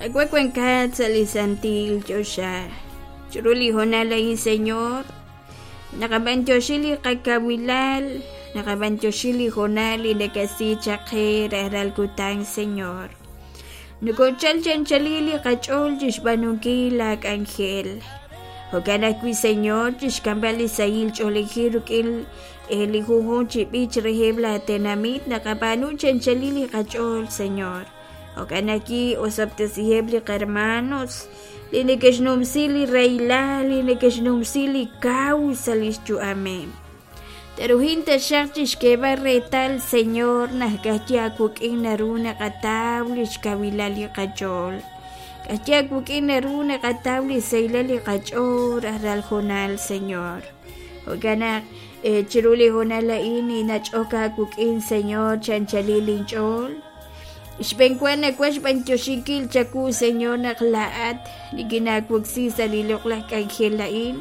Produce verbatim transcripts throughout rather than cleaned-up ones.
Qawa' wankat sa' li santil choxa. Chiru li hoonal a'in, Señor, naqab'antioxi li qakawilal, naqab'antioxi li hoonal li nakasi chaq qe rajlal kutan, Señor. Nokochal chi anchalil li qach'ool chixb'aanunkil la k'anjel. Jo'kan ajwi', Señor, chixk'amb'al li sahil ch'oolejil rik'in li junjunq chi b'ich reheb' la tenamit naqab'aanu chi anchalil li qach'ool, Señor. Jo'kan ajwi' osob'tesiheb' li qarmanos li neke'xnumsi li rahilal, li neke'xnumsi li kaw sa' lix yu'ameb'. Teruhin taxaq chixk'eeb'al reetal, Señor, naq ka'ajwi' aawik'in naru naqataw lix kawilal li qach'ool. Ka'ajwi' aawik'in naru naqataw li sahilal li qach'ool rajlal hoonal, Señor. Jo'kan naq chiru li hoonal a'in ninach'ok aawik'in, Señor, chi anchalil inch'ool. Xb'enwa nawaj xb'antioxinkil chawu, Señor, naq laa'at nikinaawoksi sa' li loq'laj k'anjel a'in.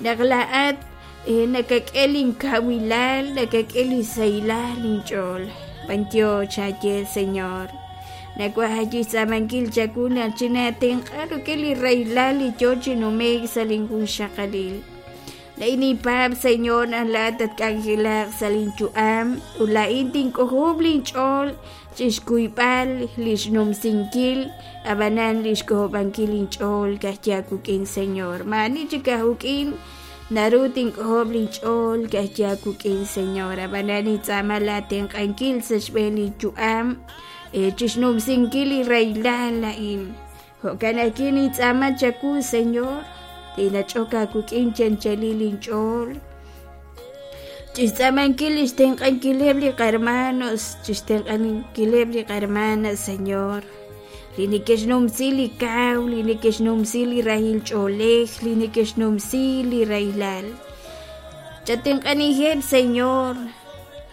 Naq laa'at nakak'e linkawilal, nakak'e li sahilal inch'ool. B'antiox aaye, Señor. Nawaj ajwi' xtz'aamankil chawu naq chinatenq'a rik'in li rahilal li yoo chi nume'k sa' linjunxaqalil. Laa'in ninpaab', Señor, naq laa'at tatk'anjelaq sa' linyu'am ut laa'in tink'ojob' linch'ool chixkuyb'al lix numsinkil ab'anan lix k'ojob'ankil inch'ool ka'ajwi' aawik'in, Señor. Maa'ani chik aawik'in naru tink'ojob' linch'ool ka'ajwi' aawik'in, Señor. Ab'anan nintz'aama laatenq'ankil sa' xb'een linyu'am chixnumsinkil li rahilal a'in. Jo'kan ajwi' nintz'aama chawu, Señor, tinach'ok aawik'in chi anchalil inch'ool. Chixtz'aamankil lix tenq'ankileb' li qarmanos, chixtenq'ankileb' li qarmanas, Señor. Li neke'xnumsi li kaw, li neke'xnumsi li rahil ch'oolej, li neke'xnumsi li rahilal. Chatenq'aniheb', Señor,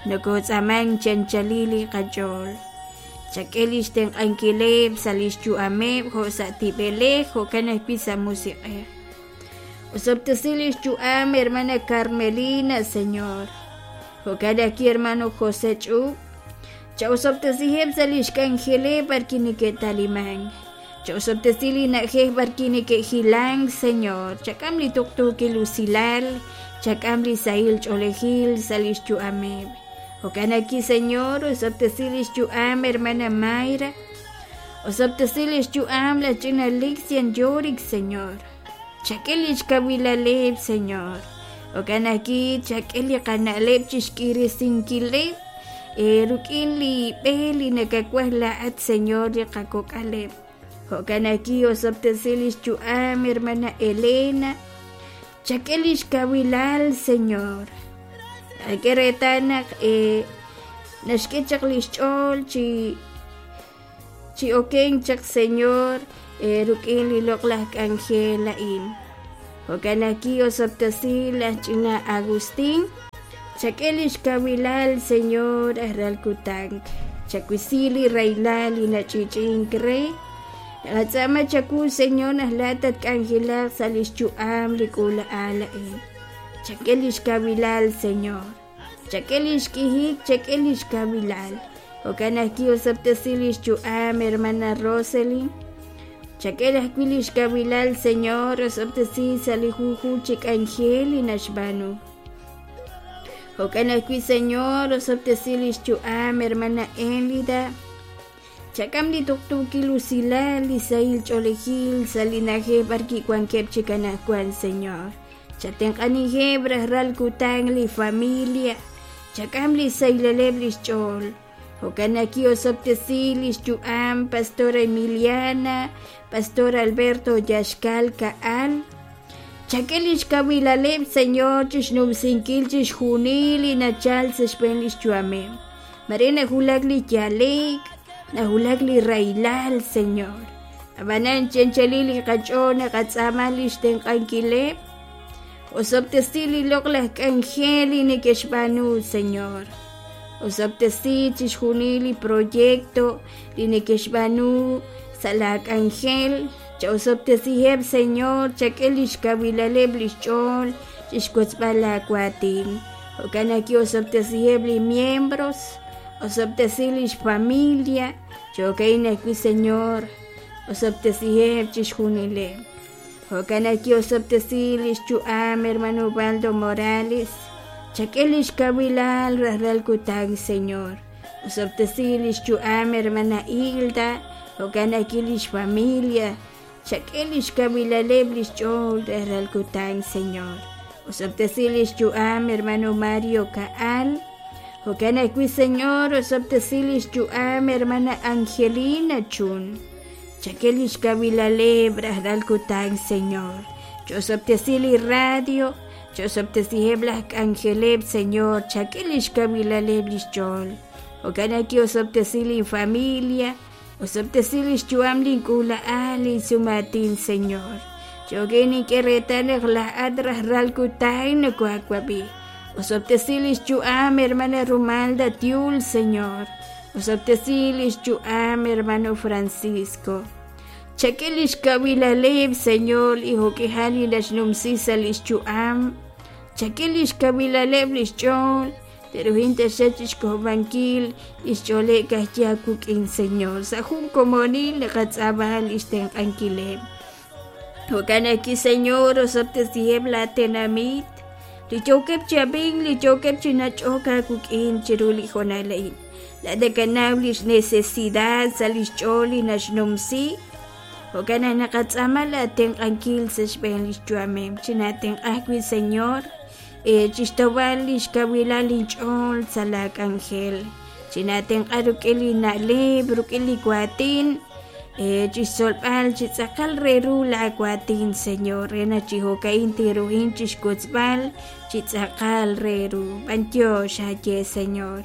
nokotz'aaman chi anchalil li qach'ool. Chak'e lix tenq'ankileb' sa' lix yu'ameb' jo' sa' tib'elej, jo'kan ajwi' sa' musiq'ej. Osob'tesi lix yu'am, hermana Carmelina, Señor. Jo'kan ajwi' hermano José Ch'ub. Cha'osob'tesiheb' sa' lix k'anjeleb' b'arwi' neke'taliman. Cha'osob'tesi li na'ajej b'arwi' neke'jilank, Señor. Chak'am li tuqtuukil usilal, chak'am li sahil ch'oolejil sa' lix yu'ameb'. Jo'kan ajwi', Señor, osob'tesi lix yu'am, hermana Mayra. Osob'tesi lix yu'am la ch'ina Lixian Yorick, Señor. Chak'e lix kawilaleb', Señor. Jo'kan ajwi' chak'e li qana'leb' chixk'irisinkileb' rik'in li b'e li nakawaj laa'at, Señor, li qakok'aleb'. Jo'kan ajwi' osob'tesi lix yu'am, hermana Elena. Chak'e lix kawilal, Señor. Ak'e reetal naq naxk'e chaq lix ch'ool chi chi okenk chaq, Señor, rik'in li loq'laj k'anjel a'in. Jo'kan ajwi' osob'tesi laj ch'ina Agustín. Chak'e lix kawilal, Señor, rajlal kutan. Chakwisi li rahilal li nach'ich'ink re. Naqatz'aama chawu, Señor, naq laa'at tatk'anjelaq sa' lix yu'am li k'uula'al a'in. Chak'e lix kawilal, Señor. Chak'e lix k'ijik, chak'e lix kawilal. Jo'kan ajwi' osob'tesi lix yu'am, hermana Roselyn. Chak'e ajwi' lix kawilal, Señor, osob'tesi sa' li junjunq chi k'anjel li naxb'aanu. Jo'kan ajwi', Señor, osob'tesi lix yu'am, hermana Elida. Chak'am li tuqtuukil usilal, li sahil ch'oolejil sa' li na'ajej b'arwi' wankeb' chik anaqwan, Señor. Chatenq'aniheb' rajlal kutan li familia. Chak'am li sahilaleb' lix ch'ool. Jo'kan ajwi' osob'tesi lix yu'am, Pastora Emiliana, Pastor Alberto Yaxcal Kaal. Chak'e lix kawilaleb', Señor, chixnumsinkil chixjunil li nachal sa' xb'een lix yu'ameb'. Mare najulak li yaleek, najulak li rahilal, Señor. Ab'anan chi anchalil li qach'ool naqatz'aama lix tenq'ankileb'. Osob'tesi li loq'laj k'anjel li neke'xb'aanu, Señor. Osob'tesi chixjunil li proyecto li neke'xb'aanu sa' la k'anjel. Cha'osob'tesiheb', Señor, chak'e lix kawilaleb' lix ch'ool chixwotzb'al laawaatin. Jo'kan ajwi' osob'tesiheb' li miembros, osob'tesi lix familia. Jo'kan ajwi', Señor, Osob'tesiheb' chixjunileb'. Jo'kan ajwi' osob'tesi lix yu'am hermano Ubaldo Morales. Chak'e lix kawilal rajlal kutan, Señor. Osob'tesi lix yu'am hermana Hilda, jo'kan ajwi' lix familia. Chak'e lix kawilaleb' lix ch'ool rajlal kutan, Señor. Osob'tesi lix yu'am hermano Mario Kaal. Jo'kan ajwi', Señor, osob'tesi lix yu'am hermana Angelina Chun. Chak'e lix kawilaleb' rajlal kutan, Señor. Ch'osob'tesi li radio, ch'osob'tesiheb' laj k'anjeleb', Señor. Chak'e lix kawilaleb' lix ch'ool. Jo'kan ajwi' osob'tesi lin familia, osob'tesi lix yu'am link'uula'al, linsumatin, Señor. Cho'k'e nink'e reetal naq laa'at rajlal kutan nokohaawab'i. Osob'tesi lix yu'am hermana Rumalda Tiul, Señor. Osob'tesi lix yu'am hermano Francisco. Chak'e lix kawilaleb', Señor, li jo'k'ihal li naxnumsi sa' lix yu'am. Chak'e lix kawilaleb' lix ch'ool. Teruhin taxaq chixk'ojob'ankil lix ch'ooleb' ka'ajwi' aawik'in, Señor. Sa' jun komonil naqatz'aab'a lix tenq'ankileb'. Jo'kan ajwi', Señor, osob'tesiheb' laa tenamit. Li yookeb' chi ab'ink, li yookeb' chi nach'ok aawik'in chiru li hoonal a'in. Laa'at nakanaw lix necesidad sa' lix ch'ool li naxnumsi. Jo'kan naq naqatz'aama laatenq'ankil sa' xb'een lix yu'ameb'. Chinatenq'a ajwi', Señor, eh, chixtawb'al lix kawilal inch'ool sa' laa k'anjel. Chinatenq'a rik'in li na'leb', rik'in li waatin, eh, chixtzolb'al chi tz'aqal re ru laa waatin, Señor, re naq chi jo'ka'in tiruhin chixwotzb'al chi tz'aqal re ru. B'antiox aye, Señor.